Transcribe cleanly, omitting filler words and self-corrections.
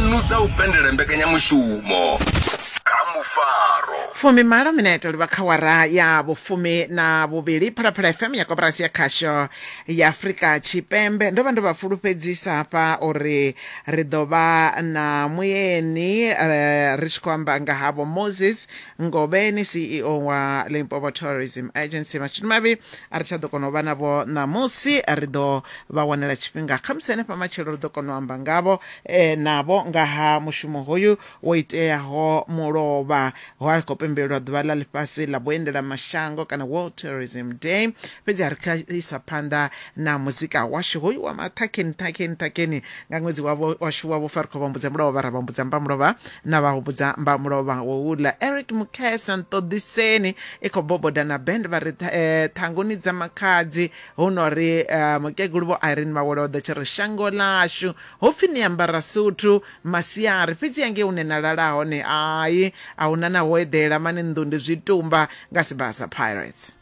Dzanu dza u pendela mbekanyamushumo kha mufaro. Fumimalo minete livha kha wara ya vhufumi na vhuvhili. Phalaphala FM ya koporasi ya khasho ya Afrika Tshipembe. Ndo vha ndo vha fulufhedzisa hafha uri ri ḓo vha na mueni eh, ri tshi khou amba nga havho Moses Ngovheni, CEO wa Limpopo Tourism Agency. Mashudu mavhi a ri tsha ḓo kona u vha navho ṋamusi, ri ḓo vha wanela tshifhinga khamusi henefha matshelo ri ḓo kona u amba ngavho eh, navho nga ha mushumo hoyu wo iteaho mulovha ho a khou pembelelwa ḓuvha ḽa ḽifhasi ḽa vhuendela mashango kana World Tourism Day. Fhedzi ha ri kha isa phanḓa na muzika washu hoyu wa maṱhakheni ṱhakheni ṱhakheni nga ṅwedzi wavho washu wa vhufa ri khou vha humbudza mulovha ra vha humbudza mbamulovha na vha humbudza mbamulovha wouḽa Eric Mukhesa nṱoḓiseni i khou boboda na band vha ri eh, ṱhanguni dza makhadzi hu no ri eh, mukegulu vho Irene Mawele o ḓo tshi ri shango ḽashu ho pfi ni ambara suthu masiari fhedzi hangei hune na lala hone ai a huna na ho eḓela mani nnḓu ndi zwitumba nga Sibasa Pirates.